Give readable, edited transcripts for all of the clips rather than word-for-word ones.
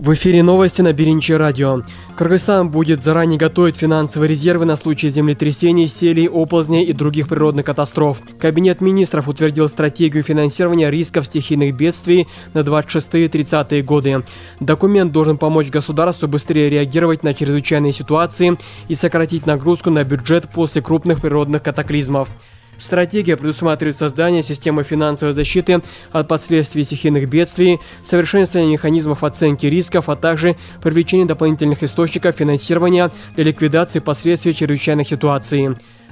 В эфире новости на Биринчи радио. Кыргызстан будет заранее готовить финансовые резервы на случай землетрясений, селей, оползней и других природных катастроф. Кабинет министров утвердил стратегию финансирования рисков стихийных бедствий на 26-30 годы. Документ должен помочь государству быстрее реагировать на чрезвычайные ситуации и сократить нагрузку на бюджет после крупных природных катаклизмов. Стратегия предусматривает создание системы финансовой защиты от последствий стихийных бедствий, совершенствование механизмов оценки рисков, а также привлечение дополнительных источников финансирования для ликвидации последствий чрезвычайных ситуаций.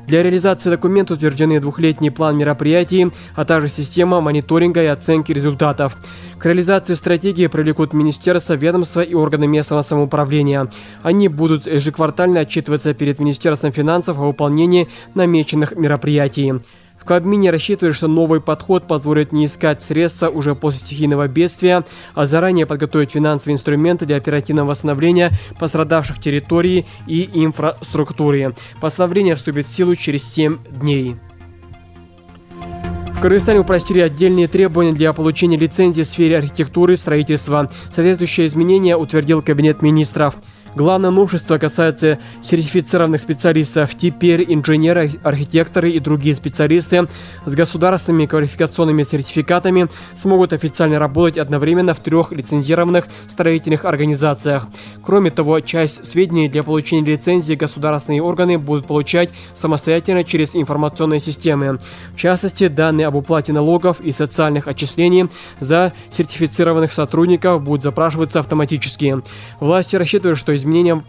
Для реализации документа утверждены двухлетний план мероприятий, а также система мониторинга и оценки результатов. К реализации стратегии привлекут министерства, ведомства и органы местного самоуправления. Они будут ежеквартально отчитываться перед Министерством финансов о выполнении намеченных мероприятий. В Кабмине рассчитывают, что новый подход позволит не искать средства уже после стихийного бедствия, а заранее подготовить финансовые инструменты для оперативного восстановления пострадавших территорий и инфраструктуры. Постановление вступит в силу через 7 дней. В Кыргызстане упростили отдельные требования для получения лицензии в сфере архитектуры и строительства. Соответствующие изменения утвердил Кабинет министров. Главное новшество касается сертифицированных специалистов. Теперь инженеры, архитекторы и другие специалисты с государственными квалификационными сертификатами смогут официально работать одновременно в 3 лицензированных строительных организациях. Кроме того, часть сведений для получения лицензии государственные органы будут получать самостоятельно через информационные системы. В частности, данные об уплате налогов и социальных отчислений за сертифицированных сотрудников будут запрашиваться автоматически. Власти рассчитывают, что изменения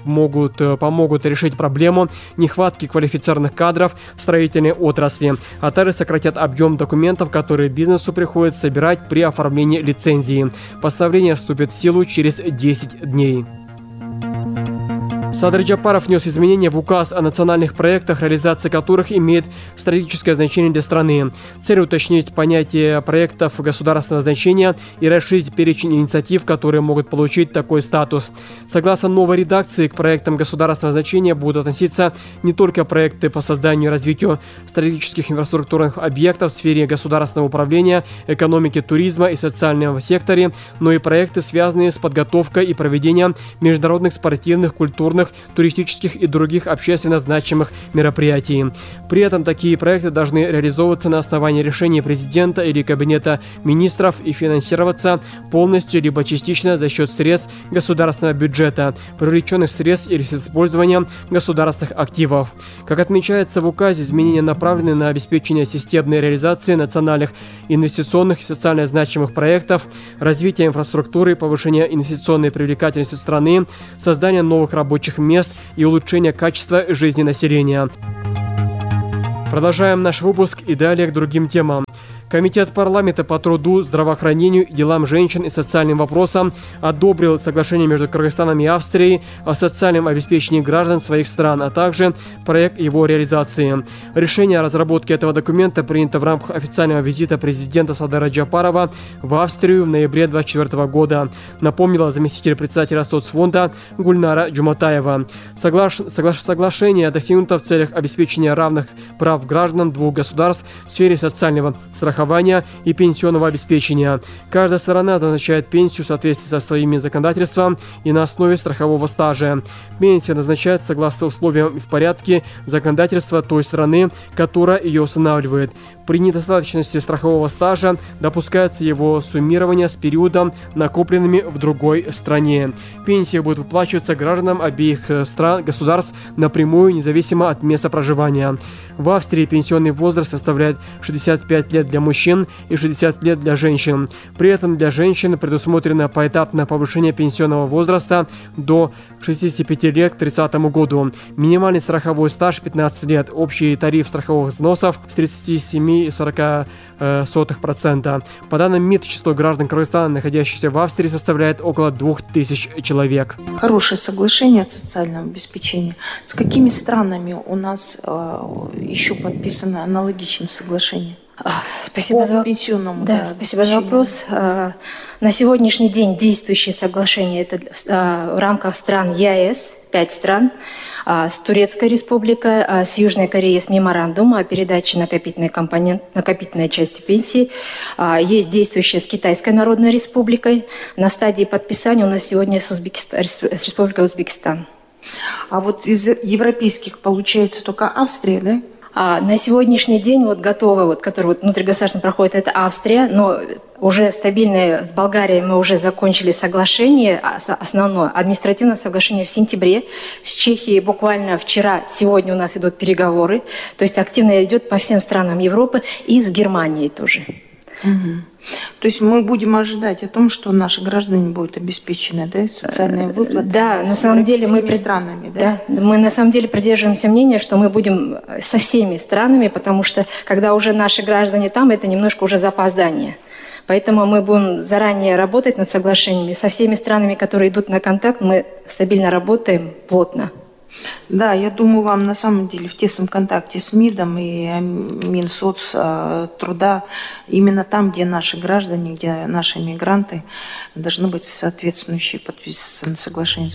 помогут решить проблему нехватки квалифицированных кадров в строительной отрасли, а также сократят объем документов, которые бизнесу приходится собирать при оформлении лицензии. Постановление вступит в силу через 10 дней. Садыр Джапаров внес изменения в указ о национальных проектах, реализация которых имеет стратегическое значение для страны. Цель уточнить понятие проектов государственного значения и расширить перечень инициатив, которые могут получить такой статус. Согласно новой редакции, к проектам государственного значения будут относиться не только проекты по созданию и развитию стратегических инфраструктурных объектов в сфере государственного управления, экономики, туризма и социального секторе, но и проекты, связанные с подготовкой и проведением международных спортивных, культурных, туристических и других общественно значимых мероприятий. При этом такие проекты должны реализовываться на основании решения президента или Кабинета министров и финансироваться полностью либо частично за счет средств государственного бюджета, привлеченных средств или с использованием государственных активов. Как отмечается в указе, изменения направлены на обеспечение системной реализации национальных инвестиционных и социально значимых проектов, развитие инфраструктуры, повышение инвестиционной привлекательности страны, создание новых рабочих мест и улучшение качества жизни населения. Продолжаем наш выпуск и далее к другим темам. Комитет парламента по труду, здравоохранению, делам женщин и социальным вопросам одобрил соглашение между Кыргызстаном и Австрией о социальном обеспечении граждан своих стран, а также проект его реализации. Решение о разработке этого документа принято в рамках официального визита президента Садыра Джапарова в Австрию в ноябре 2024 года, напомнила заместитель председателя соцфонда Гульнара Джуматаева. Соглашение достигнуто в целях обеспечения равных прав граждан двух государств в сфере социального страхования и пенсионного обеспечения. Каждая сторона назначает пенсию в соответствии со своими законодательством и на основе страхового стажа. Пенсия назначается согласно условиям и в порядке законодательства той страны, которая ее устанавливает. При недостаточности страхового стажа допускается его суммирование с периодом, накопленными в другой стране. Пенсия будет выплачиваться гражданам обеих государств напрямую, независимо от места проживания. В Австрии пенсионный возраст составляет 65 лет для мужчин и 60 лет для женщин. При этом для женщин предусмотрено поэтапное повышение пенсионного возраста до 65 лет к 30 году. Минимальный страховой стаж 15 лет. Общий тариф страховых взносов с 37,40%. По данным МИД, число граждан Кыргызстана, находящихся в Австрии, составляет около 2000 человек. Хорошее соглашение о социальном обеспечении. С какими странами у нас еще подписано аналогичное соглашение? Спасибо за вопрос. На сегодняшний день действующее соглашение это в рамках стран ЕАЭС 5 стран. С Турецкой республикой, с Южной Кореей с меморандум о передаче накопительной части пенсии. Есть действующая с Китайской Народной Республикой. На стадии подписания у нас сегодня с Республикой Узбекистан. А вот из европейских получается только Австрия, да? На сегодняшний день готовы, который внутригосударственно проходит, это Австрия, но уже стабильные с Болгарией мы уже закончили соглашение, основное административное соглашение в сентябре. С Чехией буквально вчера, сегодня у нас идут переговоры, то есть активно идет по всем странам Европы и с Германией тоже. Угу. То есть мы будем ожидать о том, что наши граждане будут обеспечены, да, социальные выплаты, да, на самом деле мы странами, да? Да, мы на самом деле придерживаемся мнения, что мы будем со всеми странами, потому что когда уже наши граждане там, это немножко уже запоздание. Поэтому мы будем заранее работать над соглашениями. Со всеми странами, которые идут на контакт, мы стабильно работаем плотно. Да, я думаю, вам на самом деле в тесном контакте с МИДом и Минсоцтруда, именно там, где наши граждане, где наши мигранты, должны быть соответствующие подписаны соглашения.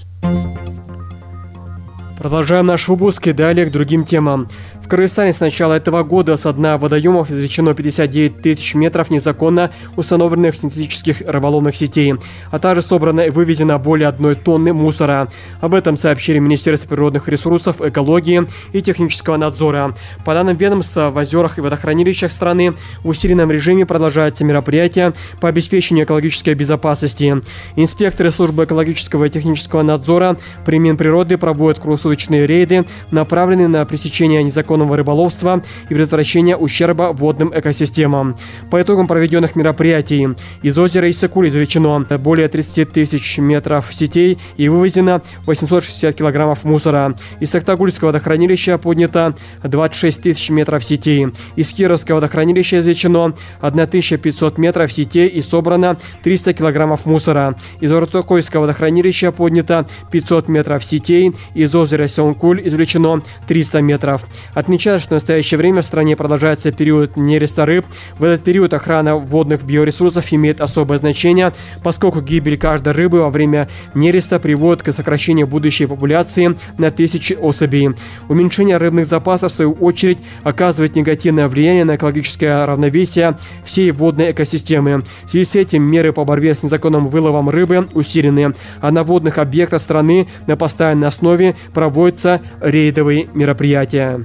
Продолжаем наш выпуск и далее к другим темам. В Кыргызстане с начала этого года со дна водоемов извлечено 59 тысяч метров незаконно установленных синтетических рыболовных сетей, а также собрано и вывезено более 1 тонны мусора. Об этом сообщили Министерство природных ресурсов, экологии и технического надзора. По данным ведомства, в озерах и водохранилищах страны в усиленном режиме продолжаются мероприятия по обеспечению экологической безопасности. Инспекторы службы экологического и технического надзора при Минприроды проводят круглосуточные рейды, направленные на пресечение незаконного рыболовства и предотвращения ущерба водным экосистемам. По итогам проведенных мероприятий из озера Иссык-Куль извлечено более 30 тысяч метров сетей и вывезено 860 килограммов мусора. Из Токтагульского водохранилища поднято 26 тысяч метров сетей. Из Кировского водохранилища извлечено 1500 метров сетей и собрано 300 килограммов мусора. Из Ортокойского водохранилища поднято 500 метров сетей. Из озера Сёнкуль извлечено 300 метров. Отмечаю, что в настоящее время в стране продолжается период нереста рыб. В этот период охрана водных биоресурсов имеет особое значение, поскольку гибель каждой рыбы во время нереста приводит к сокращению будущей популяции на тысячи особей. Уменьшение рыбных запасов, в свою очередь, оказывает негативное влияние на экологическое равновесие всей водной экосистемы. В связи с этим меры по борьбе с незаконным выловом рыбы усилены, а на водных объектах страны на постоянной основе проводятся рейдовые мероприятия.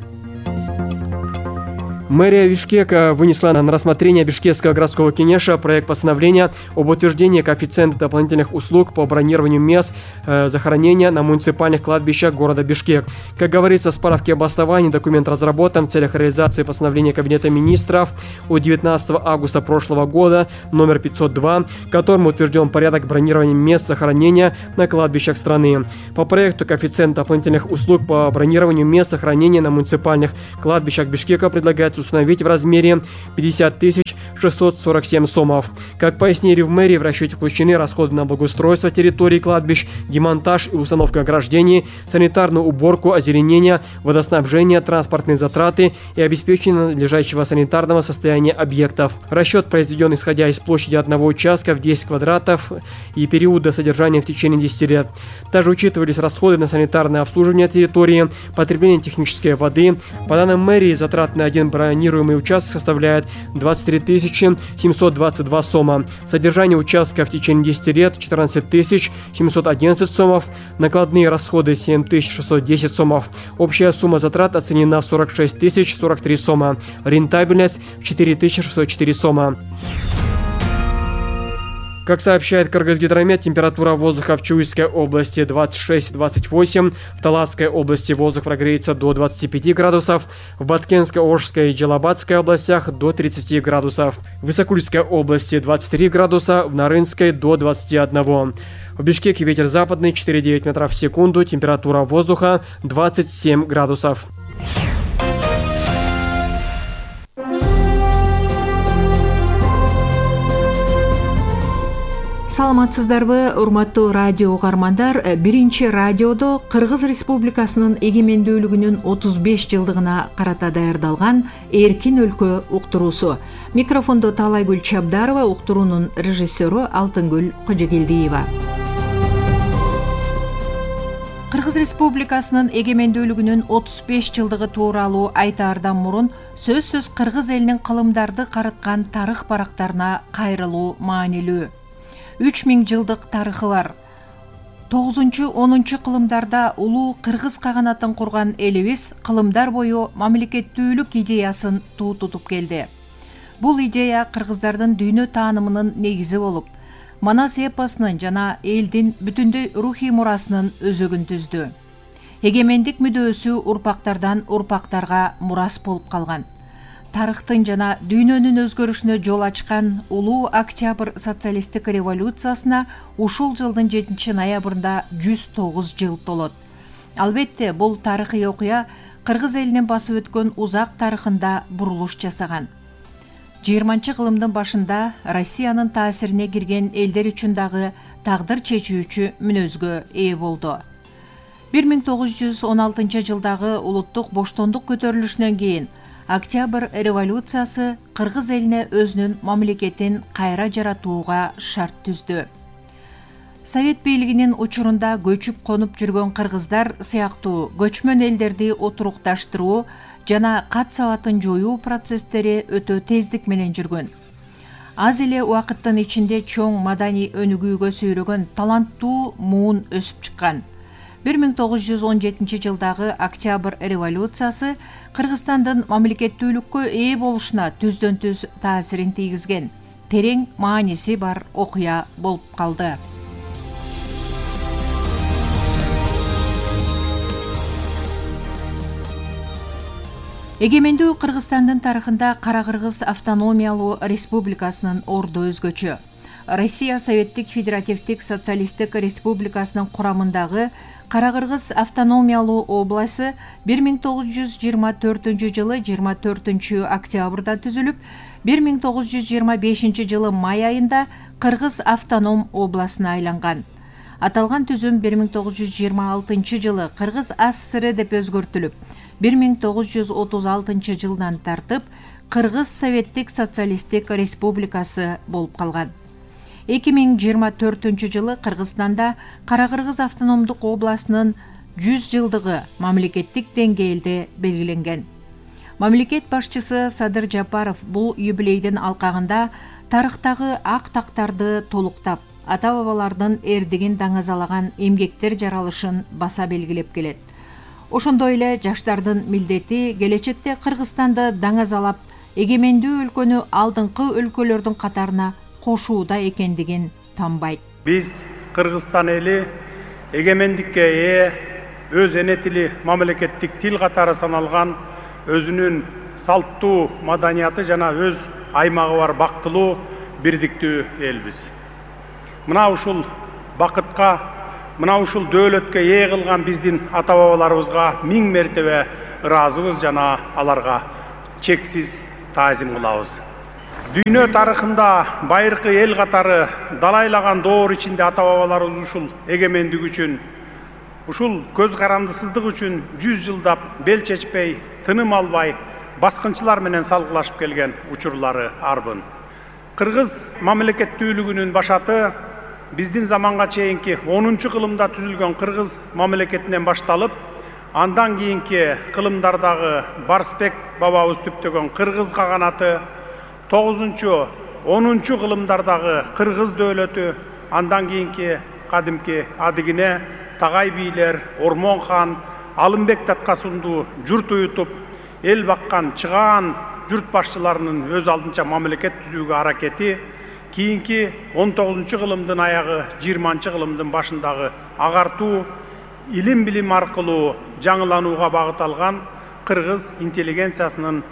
Мэрия Бишкека вынесла на рассмотрение Бишкекского городского кенеша проект постановления об утверждении коэффициента дополнительных услуг по бронированию мест захоронения на муниципальных кладбищах города Бишкек. Как говорится в справке об основании, документ разработан в целях реализации постановления Кабинета министров от 19 августа прошлого года номер 502, которым утвержден порядок бронирования мест захоронения на кладбищах страны. По проекту коэффициент дополнительных услуг по бронированию мест захоронения на муниципальных кладбищах Бишкека предлагается установить в размере 50 647 сомов. Как пояснили в мэрии, в расчете включены расходы на благоустройство территории кладбищ, демонтаж и установка ограждений, санитарную уборку, озеленение, водоснабжение, транспортные затраты и обеспечение надлежащего санитарного состояния объектов. Расчет произведен исходя из площади одного участка в 10 квадратов и периода содержания в течение 10 лет. Также учитывались расходы на санитарное обслуживание территории, потребление технической воды. По данным мэрии, затраты на один бронируемый участок составляет 23 722 сома. Содержание участка в течение 10 лет 14 711 сомов. Накладные расходы 7 610 сомов. Общая сумма затрат оценена в 46 043 сома. Рентабельность в 4 604 сома. Как сообщает Кыргызгидромет, температура воздуха в Чуйской области 26-28, в Таласской области воздух прогреется до 25 градусов, в Баткенской, Оржской и Джалабадской областях до 30 градусов, в Исакульской области 23 градуса, в Нарынской до 21. В Бишкеке ветер западный 4,9 метров в секунду, температура воздуха 27 градусов. Саламатсыздарбы, урматтуу радио угармандар. Биринчи радиодо Кыргыз Республикасынын эгемендүүлүгүнүн 35 жылдыгына карата даярдалган Эркин өлкө уктуруусу. Микрофондо Таалайгүл Чабдарова, уктуруунун режиссеру Алтынгүл Кожогелдиева. Кыргыз Республикасынын эгемендүүлүгүнүн 35 жылдыгы тууралуу айтаардан мурун сөзсүз кыргыз элинин кылымдарды карыткан тарых барактарына кайрылуу маанилүү. 3000 жылдык тарыхы бар. 9-10 кылымдарда улуу кыргыз каганатын курган элибиз кылымдар бою мамлекеттүүлүк идеясын туу тутуп келди. Бул идея кыргыздардын дүйнө таанымынын негизи болуп, Манас эпосунун жана элдин бүтүндөй рухий мурасынын өзөгүн түздү. Эгемендик мүдөөсү урпактардан урпактарга мурас болуп калган. Тарыхтын жана дүйнөнүн өзгөрүшүнө жол ачкан улуу Октябрь социалисттик революциясына ушул жылдын 7 ноябрында 109 жыл толот. Албетте, бул тарыхый окуя кыргыз элинин басып өткөн узак тарыхында бурулуш жасаган. 20-кылымдын башында Россиянын таасирине кирген элдер үчүн дагы тагдыр чечүүчү мүнөзгө ээ болду. 1916 жылдагы улуттук боштондук көтөрүлүшүнөн кийин Октябрь революциясы кыргыз элине өзүнүн мамлекетин кайра жаратууга шарт түздү. Совет бийлигинин учурунда көчүп конуп жүргөн кыргыздар сыяктуу көчмөн элдерди отурукташтыруу жана кат сабатын жоюу процесстери өтө тездик менен жүргөн. Аз эле убакыттын ичинде чоң маданий өнүгүүгө сүйрөгөн таланттуу муун өсүп чыккан. 1917 жылдагы Октябрь революциясы Кыргызстандын мамлекеттүүлүккө ээ болушуна түздөн түз таасирин тийгизген, терең мааниси бар окуя болуп калды. Эгемендүү Кыргызстандын тарыхында Кара Кыргыз автономиялуу республикасынын орду өзгөчө. Россия Советтик Федеративдик Социалисттик Республикасынын курамындагы Кара Кыргыз автономиялуу областы 1924 жылы 24 октябрда түзүлүп, 1925 жылы май айында Кыргыз автоном областына айланган. Аталган түзүм 1926 жылы Кыргыз АССР деп өзгөртүлүп, 1936 жылдан тартып Кыргыз Советтик Социалисттик Республикасы болуп калган. 2024 жылы Кыргызстанда Кара Кыргыз автономдук областынын 100 жылдыгы мамлекеттик деңгээлде белгиленген. Мамлекет башчысы Садыр Жапаров бул юбилейдин алкагында тарыхтагы ак тактарды толуктап, ата-бабалардын эрдигин даңазалаган эмгектер жаралышын баса белгилеп келет. Ошондой эле жаштардын милдети келечекте Кыргызстанды даңазалап, эгемендүү өлкөнү алдыңкы өлкөлөрдүн катарына кошууда экендигин танбайт. Биз Кыргызстан эли эгемендикке ээ, өз эне тили мамлекеттик тил катары саналган өзүнүн салттуу маданияты жана өз аймагы бар бактылуу бирдиктүү элбиз. Мына ушул бакытка, мына ушул дөөлөткө ээ кылган биздин ата-бабаларыбызга миң мертебе ыраазыбыз жана аларга чексиз таазим кылабыз. Дүйнө тарыхында байыркы эл катары далайлаган доор ичинде ата-бабаларыбыз ушул эгемендик үчүн, ушул көз карандысыздык үчүн 100 жылдап бел чечпей, тыным албай, баскынчылар менен салгылашып келген учурлары арбын. Кыргыз мамлекеттүүлүгүнүн башаты биздин заманга чейинки 10-кылымда түзүлгөн Кыргыз мамлекетинен башталып, андан кийинки кылымдардагы Барсбек бабабыз түптөгөн Кыргыз каганаты, 9-10 кылымдардагы Кыргыз дөөлөтү, андан кийинки кадимки Адыгине, Тагай бийлер, Ормон хан, Алымбек Таткасунду журт уютуп, эл баккан чыгаан журт башчыларынын өз алдынча мамлекет түзүүгө аракети, кийинки 19-кылымдын аягы, 20-кылымдын башындагы агартуу, илим-билим аркылуу жаңыланууга багыт алган Кыргыз интеллигенциясынын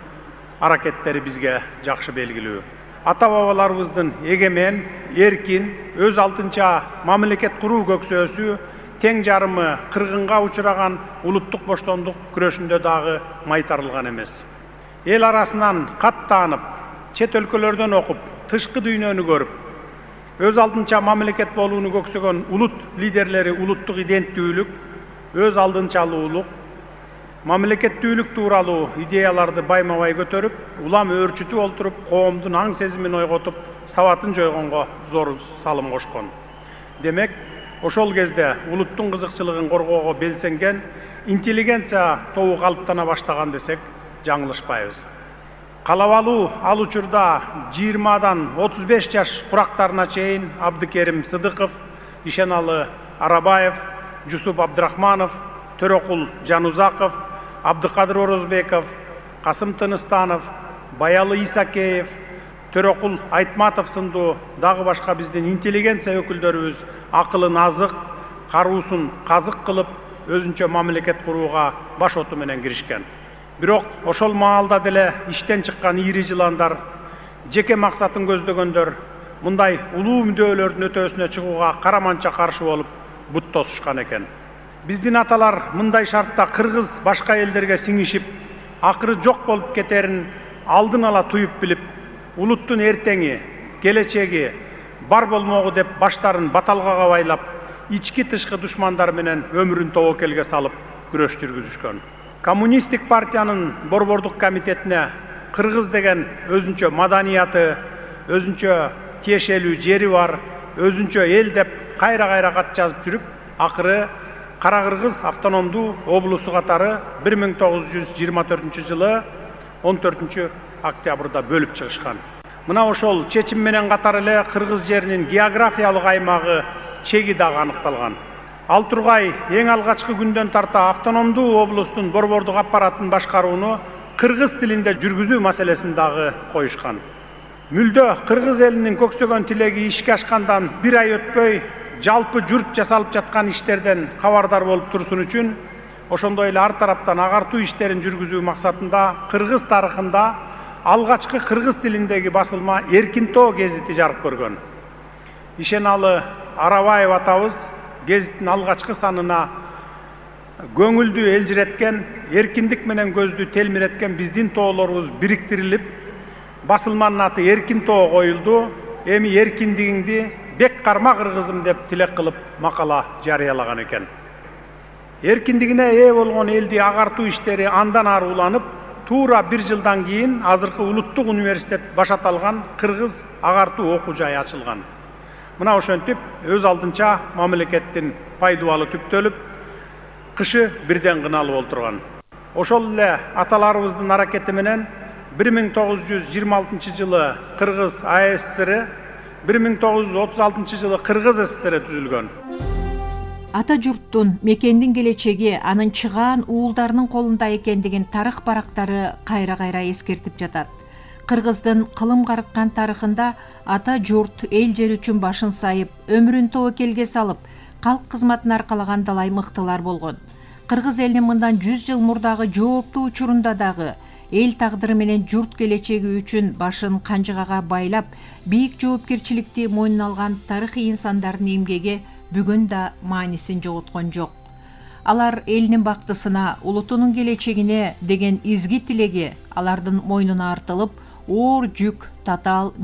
аракеттери бизге жакшы белгилүү. Ата-бабаларыбыздын эгемен, эркин, өз алдынча мамлекет куруу көксөөсү тең жарымы кыргынга учураган улуттук боштондук күрөшүндө дагы майтарылган эмес. Эл арасынан кат таанып, чет өлкөлөрдөн окуп, тышкы дүйнөнү көрүп, өз алдынча мамлекет болууну көксөгөн улут лидерлери улуттук иденттүүлүк, өз алдынчалуулук, мамлекеттүүлүк тууралуу идеяларды байма-бай көтөрүп, улам өөрчүтүп олтуруп, коомдун аң сезимин ойготуп, сабатын жойгонго зор салым кошкон. Демек, ошол кезде улуттун кызыкчылыгын коргоого белсенген интеллигенция тобу калыптана баштаган десек жаңылышпайбыз. Калабалуу ал учурда 20-дан 35 жаш курактарына чейин Абдыкерим Сыдыков, Ишеналы Арабаев, Жусуп Абдрахманов, Төрөкул Жанузаков, Абдыкадыр Орозбеков, Касым Тыныстанов, Баялы Исакеев, Төрөкул Айтматов сындуу дагы башка биздин интеллигенция өкүлдөрүбүз акылын азык, каруусун казык кылып, өзүнчө мамлекет курууга баш оту менен киришкен. Бирок ошол маалда деле иштен чыккан ийри жыландар, жеке максатын көздөгөндөр мындай улуу мүддөөлөрдүн өтөөсүнө чыгууга караманча каршы болуп бут тосушкан экен. Биздин аталар мындай шартта кыргыз башка элдерге сиңишип, акыры жок болуп кетерин алдын ала туюп билип, улуттун эртеңи, келечеги бар болмогу деп баштарын баталгага байлап, ички тышкы душмандар менен өмүрүн тобокелге салып күрөш жүргүзүшкөн. Коммунисттик партиянын борбордук комитетине кыргыз деген өзүнчө маданияты, өзүнчө тиешелүү жери бар, өзүнчө эл деп кайра кат жазып жүрүп, акыры Кара Кыргыз автономдуу облусу катары 1924 жылы 14 октябрда бөлүп чыгышкан. Мына ошол чечим менен катар эле кыргыз жеринин географиялык аймагы чеги дагы аныкталган. Ал тургай эң алгачкы күндөн тарта автономдуу облустун борбордук аппаратын башкарууну кыргыз тилинде жүргүзүү маселесин дагы коюшкан. Мүлдө кыргыз элинин көксөгөн тилеги ишке ашкандан бир ай өтпөй жалпы журт жасалып жаткан иштерден кабардар болуп турсун үчүн, ошондой эле ар тараптан агартуу иштерин жүргүзүү максатында кыргыз тарыхында алгачкы кыргыз тилиндеги басылма Эркинтоо гезити жарык көргөн. Ишеналы Арабаев атабыз гезиттин алгачкы санына көңүлдү элжиреткен, эркиндик менен көздү телмиреткен биздин тоолорубуз бириктирилип, басылманын аты Эркинтоо коюлду. Эми эркиндигиңди бек карма кыргызым деп тилек кылып макала жарыялаган экен. Эркиндигине ээ болгон элди агартуу иштери андан ары уланып, туура бир жылдан кийин азыркы улуттук университет баш аталган кыргыз агартуу окуу жайы ачылган. Мына ошентип өз алдынча мамлекеттин пайдубалы түптөлүп, кышы бирден кыналып олтурган. Ошол эле аталарыбыздын аракети менен 1926 жылы Кыргыз АССР, 1936 жылы Кыргыз СССР түзүлгөн. Ата журттун, мекендин келечеги анын чыгаан уулдарынын колунда экендигин тарых барактары кайра эскертип жатат. Кыргыздын кылым карыткан тарыхында ата журт эл жер үчүн башын сайып, өмүрүн тобокелге салып, калк кызматын аркалаган далай мыктылар болгон. Кыргыз элинин мындан 100 жыл мурдагы жооптуу учурунда дагы эл тагдыры менен журт келечеги үчүн башын канжыгага байлап, бийик жоопкерчиликти мойнуна алган тарыхый инсандардын эмгеги бүгүн да маанисин жоготкон жок. Алар элинин бактысына, улутунун келечегине деген изги тилеги алардын мойнуна артылып, оор жүк татаал